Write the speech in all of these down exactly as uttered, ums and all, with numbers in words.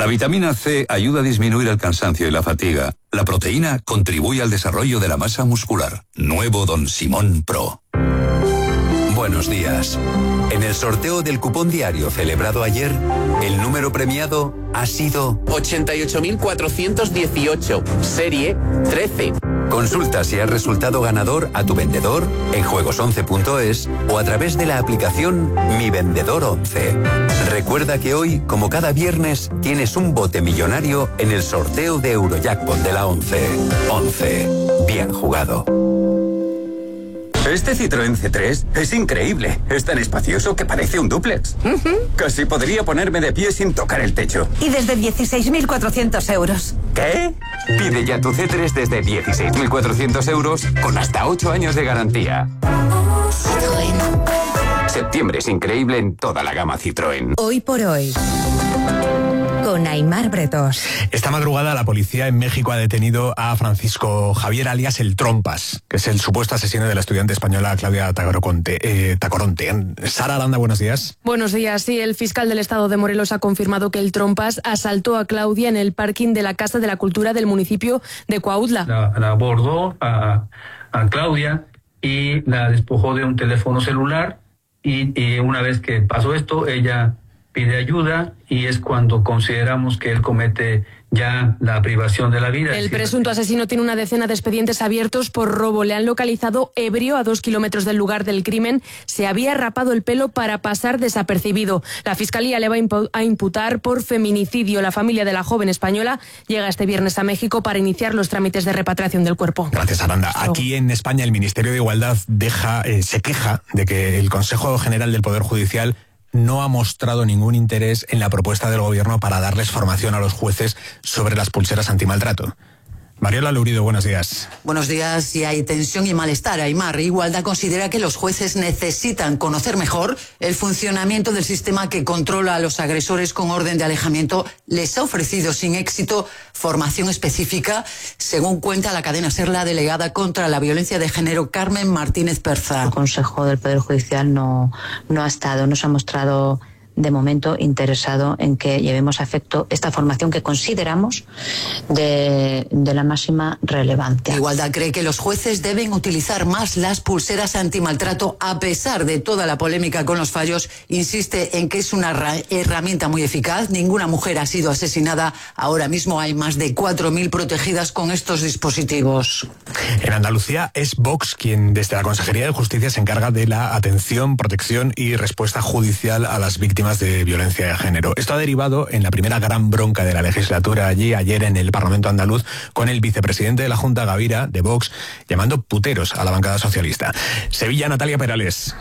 La vitamina C ayuda a disminuir el cansancio y la fatiga. La proteína contribuye al desarrollo de la masa muscular. Nuevo Don Simón Pro. Buenos días. En el sorteo del cupón diario celebrado ayer, el número premiado ha sido ochenta y ocho mil cuatrocientos dieciocho, serie trece. Consulta si has resultado ganador a tu vendedor en juegos once punto es o a través de la aplicación Mi Vendedor once. Recuerda que hoy, como cada viernes, tienes un bote millonario en el sorteo de Eurojackpot de la once. once. Bien jugado. Este Citroën C tres es increíble. Es tan espacioso que parece un dúplex. Uh-huh. Casi podría ponerme de pie sin tocar el techo. Y desde dieciséis mil cuatrocientos euros. ¿Qué? Pide ya tu C tres desde dieciséis mil cuatrocientos euros con hasta ocho años de garantía. Citroën. Septiembre es increíble en toda la gama Citroën. Hoy por hoy, con Aimar Bretos. Esta madrugada la policía en México ha detenido a Francisco Javier alias El Trompas, que es el supuesto asesino de la estudiante española Claudia Tacoronte. Eh, Tacoronte. Sara Aranda, buenos días. Buenos días. Sí, el fiscal del estado de Morelos ha confirmado que El Trompas asaltó a Claudia en el parking de la Casa de la Cultura del municipio de Cuautla. La, la abordó a, a Claudia y la despojó de un teléfono celular y, y una vez que pasó esto, ella pide ayuda y es cuando consideramos que él comete ya la privación de la vida. El presunto asesino tiene una decena de expedientes abiertos por robo. Le han localizado ebrio a dos kilómetros del lugar del crimen. Se había rapado el pelo para pasar desapercibido. La Fiscalía le va a imputar por feminicidio. La familia de la joven española llega este viernes a México para iniciar los trámites de repatriación del cuerpo. Gracias, Aranda. Aquí en España el Ministerio de Igualdad deja, eh, se queja de que el Consejo General del Poder Judicial no ha mostrado ningún interés en la propuesta del gobierno para darles formación a los jueces sobre las pulseras antimaltrato. Mariola Lurido, buenos días. Buenos días. Y hay tensión y malestar. Aimar, Igualdad considera que los jueces necesitan conocer mejor el funcionamiento del sistema que controla a los agresores con orden de alejamiento. Les ha ofrecido sin éxito formación específica, según cuenta la cadena SER, la delegada contra la violencia de género, Carmen Martínez Perza. El Consejo del Poder Judicial no, no ha estado, no se ha mostrado de momento interesado en que llevemos a efecto esta formación que consideramos de, de la máxima relevancia. Igualdad cree que los jueces deben utilizar más las pulseras antimaltrato a pesar de toda la polémica con los fallos. Insiste en que es una herramienta muy eficaz. Ninguna mujer ha sido asesinada. Ahora mismo hay más de cuatro mil protegidas con estos dispositivos. En Andalucía es Vox quien desde la Consejería de Justicia se encarga de la atención, protección y respuesta judicial a las víctimas de violencia de género. Esto ha derivado en la primera gran bronca de la legislatura allí ayer en el Parlamento andaluz con el vicepresidente de la Junta, Gavira, de Vox, llamando puteros a la bancada socialista. Sevilla, Natalia Perales.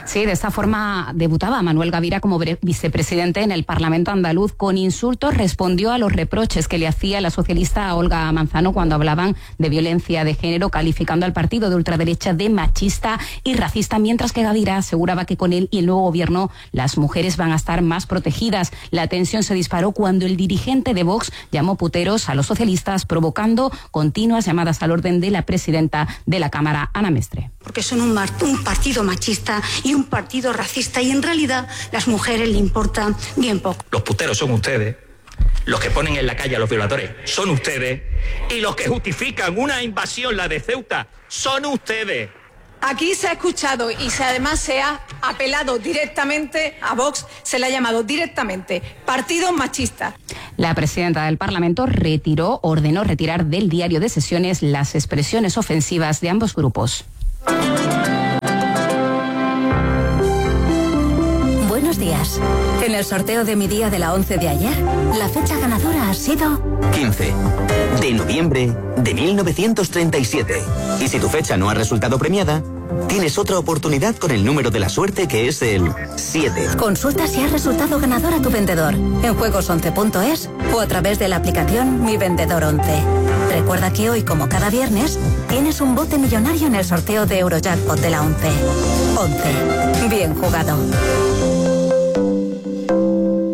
Sí, de esta forma debutaba Manuel Gavira como vicepresidente en el Parlamento andaluz. Con insultos respondió a los reproches que le hacía la socialista Olga Manzano cuando hablaban de violencia de género, calificando al partido de ultraderecha de machista y racista, mientras que Gavira aseguraba que con él y el nuevo gobierno las mujeres van a estar más protegidas. La tensión se disparó cuando el dirigente de Vox llamó puteros a los socialistas, provocando continuas llamadas al orden de la presidenta de la Cámara, Ana Mestre. Porque son un, un partido machista y un partido racista y en realidad las mujeres le importan bien poco. Los puteros son ustedes, los que ponen en la calle a los violadores son ustedes y los que justifican una invasión, la de Ceuta, son ustedes. Aquí se ha escuchado y se, además se ha apelado directamente a Vox, se le ha llamado directamente partido machista. La presidenta del Parlamento retiró, ordenó retirar del diario de sesiones las expresiones ofensivas de ambos grupos. Buenos días. En el sorteo de mi día de la once de ayer, la fecha ganadora ha sido quince de noviembre de mil novecientos treinta y siete. Y si tu fecha no ha resultado premiada, tienes otra oportunidad con el número de la suerte, que es el siete. Consulta si has resultado ganador a tu vendedor en juegos once punto es o a través de la aplicación Mi Vendedor once. Recuerda que hoy, como cada viernes, tienes un bote millonario en el sorteo de Eurojackpot de la once. once. Bien jugado.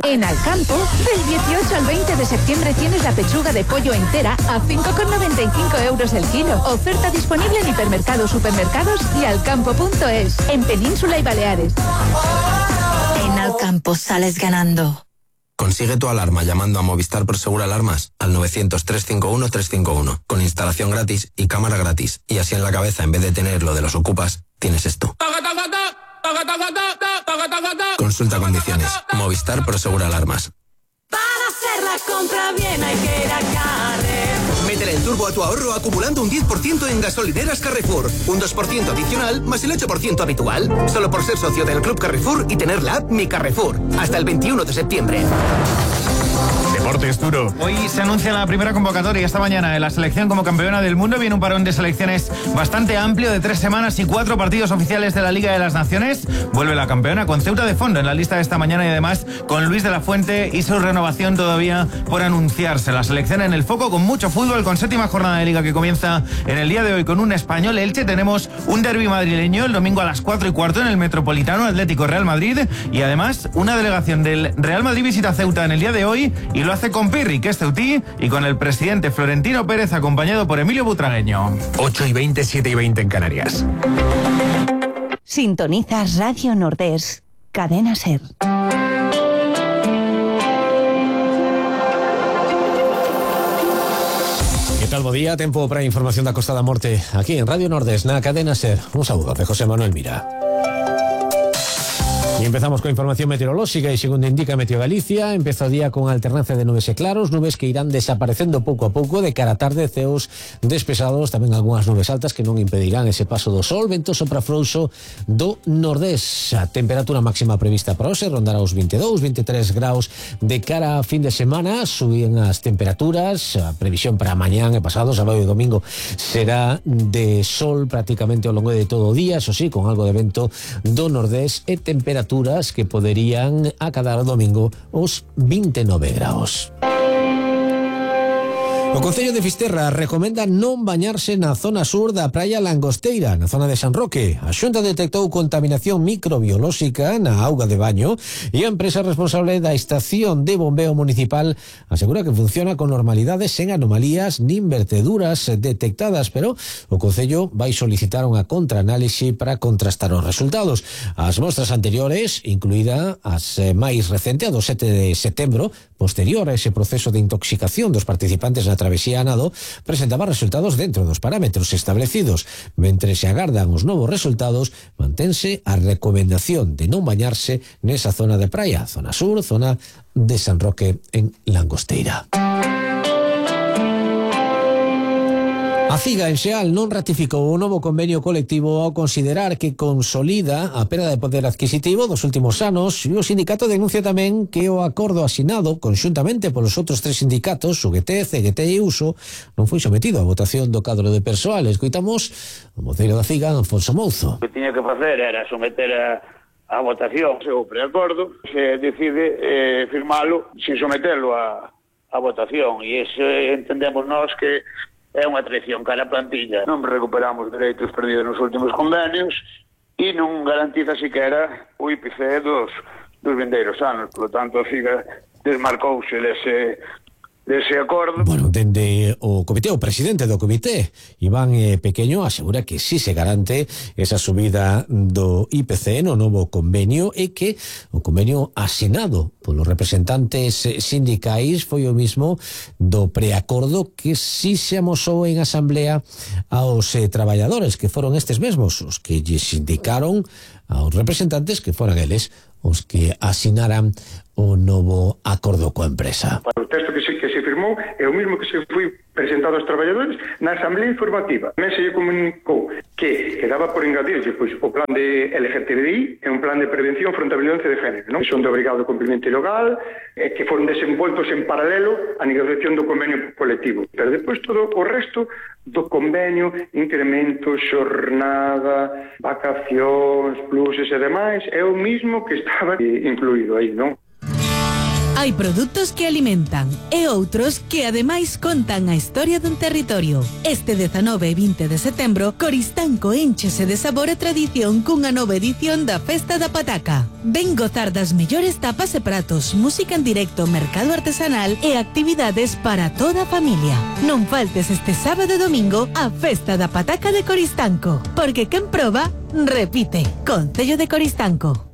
En Alcampo, del dieciocho al veinte de septiembre tienes la pechuga de pollo entera a cinco con noventa y cinco euros el kilo. Oferta disponible en hipermercados, supermercados y alcampo punto es, en Península y Baleares. En Alcampo sales ganando. Consigue tu alarma llamando a Movistar Prosegur Alarmas al novecientos, trescientos cincuenta y uno, trescientos cincuenta y uno, con instalación gratis y cámara gratis. Y así en la cabeza, en vez de tener lo de los ocupas, tienes esto. Consulta condiciones. Movistar Prosegur Alarmas. Para hacer la compra bien hay que ir a Carrefour. Métele el turbo a tu ahorro acumulando un diez por ciento en gasolineras Carrefour. Un dos por ciento adicional más el ocho por ciento habitual. Solo por ser socio del Club Carrefour y tener la app Mi Carrefour. Hasta el veintiuno de septiembre. Deportes duro. Hoy se anuncia la primera convocatoria esta mañana de la selección como campeona del mundo. Viene un parón de selecciones bastante amplio de tres semanas y cuatro partidos oficiales de la Liga de las Naciones. Vuelve la campeona con Ceuta de fondo en la lista de esta mañana y además con Luis de la Fuente y su renovación todavía por anunciarse. La selección en el foco con mucho fútbol, con séptima jornada de Liga que comienza en el día de hoy con un Español Elche. Tenemos un derbi madrileño el domingo a las cuatro y cuarto en el Metropolitano, Atlético Real Madrid, y además una delegación del Real Madrid visita Ceuta en el día de hoy y lo hace con Pirri, que es ceutí, y con el presidente Florentino Pérez acompañado por Emilio Butragueño. ocho y veinte, siete y veinte en Canarias. Sintonizas Radio Nordés, Cadena SER. ¿Qué tal, bo día? Tempo para información da Costa da Morte aquí en Radio Nordés, na Cadena SER. Un saludo de José Manuel Mira. Y empezamos con información meteorológica y según indica Meteo Galicia, empeza o día con alternancia de nubes e claros, nubes que irán desaparecendo pouco a pouco, de cara a tarde ceos despesados, tamén algunhas nubes altas que non impedirán ese paso do sol, vento sopra frouxo do nordés. A temperatura máxima prevista para hoxe rondará os veintidós, veintitrés graus de cara a fin de semana, suben as temperaturas, a previsión para mañán e pasado, sábado e domingo será de sol prácticamente ao longo de todo o día, eso sí, con algo de vento do nordés e temperatura que poderían acadar o domingo os veintinueve graus. O Concello de Fisterra recomenda non bañarse na zona sur da praia Langosteira, na zona de San Roque. A Xunta detectou contaminación microbiolóxica na auga de baño e a empresa responsable da estación de bombeo municipal asegura que funciona con normalidade, sen anomalías nin verteduras detectadas, pero o Concello vai solicitar unha contraanálise para contrastar os resultados. As mostras anteriores, incluída as máis recente, a do sete de setembro, posterior a ese proceso de intoxicación dos participantes na travesía a nado, presentaba resultados dentro dos parámetros establecidos. Mentre se agardan os novos resultados, mantense a recomendación de non bañarse nesa zona de praia, zona sur, zona de San Roque en Langosteira. A CIGA en Xeal non ratificou o novo convenio colectivo ao considerar que consolida a perda de poder adquisitivo dos últimos anos, e o sindicato denuncia tamén que o acordo asinado conxuntamente polos outros tres sindicatos, U G T, C G T e Uso, non foi sometido a votación do cadro de persoal. Escoitamos o voceiro da CIGA, Afonso Mouzo. O que tiña que facer era someter a a votación o preacordo, se decide eh, firmalo sin someterlo a, a votación, e iso entendemos nós que é unha traición cara a plantilla. Non recuperamos dereitos perdidos nos últimos convenios e non garantiza siquera o I P C dos, dos vindeiros anos. Por lo tanto, a CIGA desmarcouse dese, dese acordo. Bueno, dende o comité, o presidente do comité, Iván eh, Pequeño, asegura que si se garante esa subida do I P C no novo convenio e que o convenio asinado polos representantes sindicais foi o mismo do preacordo que si se amosou en asamblea aos eh, traballadores, que foron estes mesmos os que lle sindicaron aos representantes que foran eles os que asinaran o novo acordo coa empresa. O texto que se, que se firmou é o mesmo que se foi presentado aos traballadores na asamblea informativa. Tamén se lle comunicou que quedaba por engadirse pois, o plan de L G T B I é un plan de prevención fronte a violencia de género, non? Son de obrigado cumprimento ilegal, eh, que foron desenvoltos en paralelo á negociación do convenio colectivo. Pero depois todo o resto do convenio, incremento, xornada, vacacións, pluses e demais, é o mismo que estaba incluído aí, non? Hai produtos que alimentan e outros que ademais contan a historia dun territorio. Este dezanove e vinte de setembro, Coristanco énchese de sabor e tradición cunha nova edición da Festa da Pataca. Ven gozar das mellores tapas e pratos, música en directo, mercado artesanal e actividades para toda a familia. Non faltes este sábado e domingo a Festa da Pataca de Coristanco, porque quen proba, repite. Concello de Coristanco.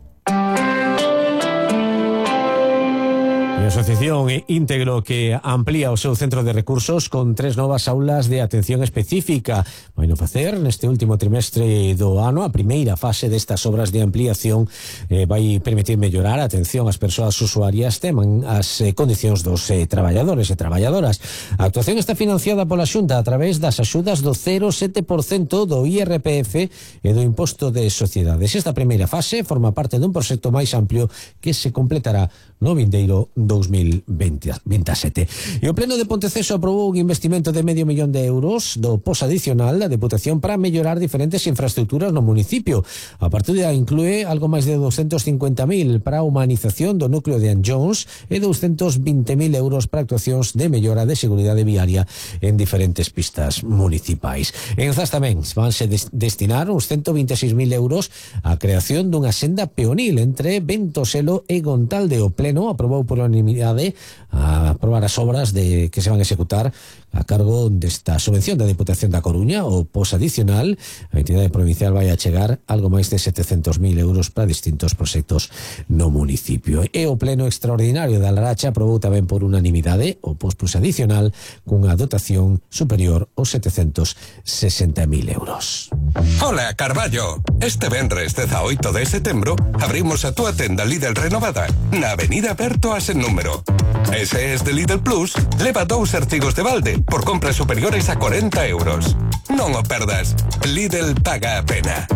E A Asociación Íntegro que amplía o seu centro de recursos con tres novas aulas de atención específica. Vai no facer neste último trimestre do ano. A primeira fase destas obras de ampliación eh, vai permitir mellorar a atención ás persoas usuarias, teman as eh, condicións dos eh, traballadores e traballadoras. A actuación está financiada pola Xunta a través das axudas do cero coma sete por cento do I R P F e do Imposto de Sociedades. Esta primeira fase forma parte dun proxecto máis amplio que se completará no vindeiro dos mil veintisiete. E o Pleno de Ponteceso aprobou un investimento de medio millón de euros do pos adicional da Deputación para mellorar diferentes infraestructuras no municipio. A partida inclúe algo máis de doscientos cincuenta mil para a humanización do núcleo de Anllóns e doscientos vinte mil euros para actuacións de mellora de seguridade viaria en diferentes pistas municipais. En Zas tamén vanse des destinar uns ciento vinte e seis mil euros á creación dunha senda peonil entre Ventoselo e Gontalde. O Pleno aprobou por unanimidade a aprobar as obras de que se van a executar a cargo desta subvención da Deputación da Coruña. O pos adicional, a entidade provincial vai a chegar algo máis de setecentos mil euros para distintos proxectos no municipio. E o Pleno Extraordinario da Laracha aprobou tamén por unanimidade o pos plus adicional cunha dotación superior aos setecentos sesenta mil euros. Hola, Carballo. Este venres dezaoito de setembro abrimos a túa tenda Lidl renovada na Avenida Berto a sen número. Ese es de Lidl Plus, leva dous artigos de balde por compras superiores a corenta euros. Non o perdas. Lidl paga a pena.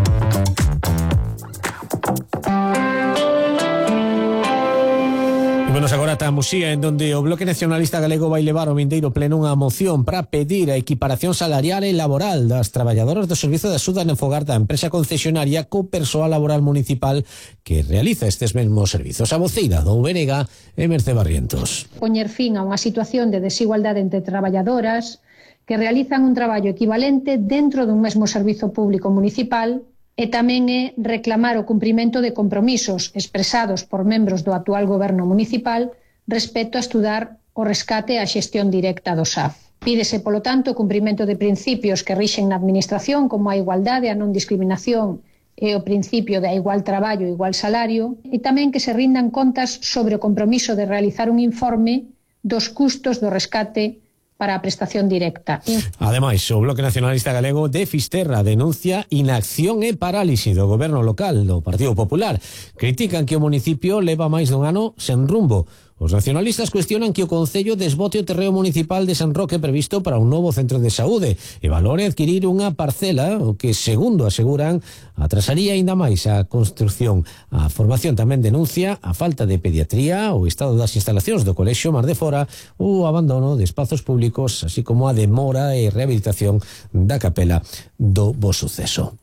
Menos agora ata Muxía, en donde o Bloque Nacionalista Galego vai levar ao vindeiro pleno unha moción para pedir a equiparación salarial e laboral das traballadoras do Servizo de Axuda no Fogar da empresa concesionaria co persoal laboral municipal que realiza estes mesmos servizos. A voceira do U B N G é Mercé Barrientos. Poñer fin a unha situación de desigualdade entre traballadoras que realizan un traballo equivalente dentro dun mesmo servizo público municipal e tamén é reclamar o cumprimento de compromisos expresados por membros do actual goberno municipal respecto a estudar o rescate e a xestión directa do S A F. Pídese, polo tanto, o cumprimento de principios que rixen na administración como a igualdade, a non discriminación e o principio de a igual traballo e igual salario, e tamén que se rindan contas sobre o compromiso de realizar un informe dos custos do rescate para a prestación directa. Ademais, o Bloque Nacionalista Galego de Fisterra denuncia inacción e parálise do goberno local do Partido Popular. Critican que o municipio leva máis dun ano sen rumbo. Os nacionalistas cuestionan que o Concello desbote o terreo municipal de San Roque previsto para un novo centro de saúde e valore adquirir unha parcela, o que, segundo aseguran, atrasaría aínda máis a construción. A formación tamén denuncia a falta de pediatría, o estado das instalacións do Colexio Mar de Fora, o abandono de espazos públicos, así como a demora e rehabilitación da capela do Bo Suceso.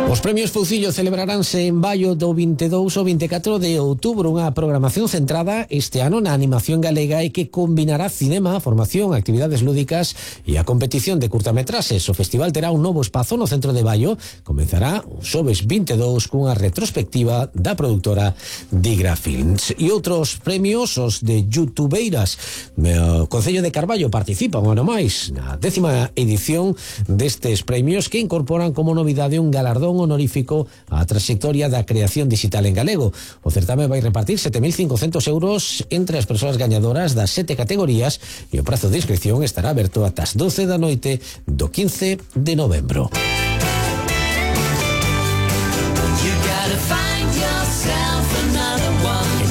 Os premios Foucillo celebraránse en Baio do vinte e dous ao vinte e catro de outubro, unha programación centrada este ano na animación galega e que combinará cinema, formación, actividades lúdicas e a competición de curtametraxes. O festival terá un novo espazo no centro de Baio, comenzará o xoves vinte e dous cunha retrospectiva da produtora Digra Films. E outros premios, os de youtubeiras. O Concello de Carballo participa un ano máis na décima edición destes premios que incorporan como novidade un galardón honorífico á trayectoria da creación digital en galego. O certame vai repartir sete mil cincocentos euros entre as persoas gañadoras das sete categorías e o prazo de inscripción estará aberto ata as doce da noite do quince de novembro.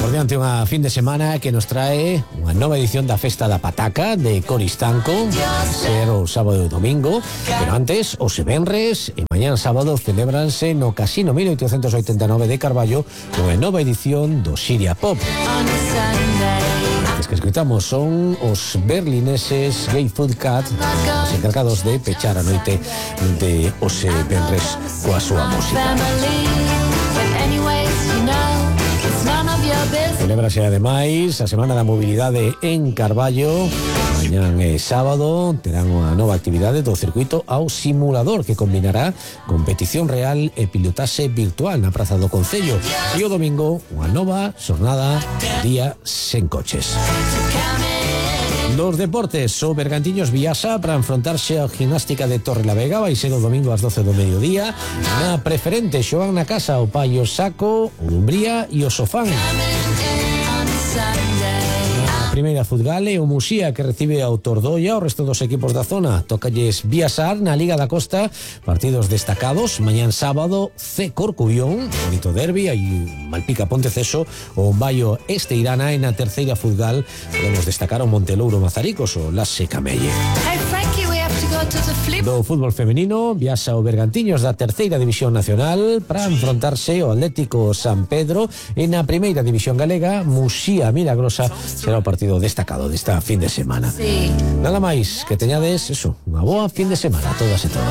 Por diante unha fin de semana que nos trae unha nova edición da Festa da Pataca de Coristanco, ser o sábado e o domingo, pero antes, os venres e mañán sábado celebranse no Casino mil oitocentos oitenta e nove de Carballo unha nova edición do Xiria Pop. Os que escritamos son os berlineses Gay Food Cat, os encargados de pechar a noite de os venres coa súa música. Celébrase ademais a Semana da Mobilidade en Carballo. Mañán é sábado, terán unha nova actividade do circuito ao simulador que combinará competición real e pilotaxe virtual na Praza do Concello. E o domingo, unha nova xornada día sen coches. Los deportes, o Bergantiños Viasa para enfrentarse a Gimnástica de Torrelavega, vai ser o domingo ás doce do mediodía. Na preferente, xogan na casa o Paio Saco, o Dumbría e o Sofán. Na primeira Fudgale, o Musía que recibe ao Tordoia, o resto dos equipos da zona. Tócalles Viasar na Liga da Costa, partidos destacados. Mañán sábado, C Corcubión, bonito derbi, aí Malpica Ponteceso, o Baio Esteirana. E na terceira Fudgal podemos destacar o Montelouro Mazaricos, o Lasse Camelle. Do fútbol femenino, viaxa o Bergantiños da terceira división nacional para enfrontarse ao Atlético San Pedro. E na primeira división galega, Musía Milagrosa será o partido destacado desta fin de semana. Sí. Nada máis, que teñades eso, unha boa fin de semana a todas e todos.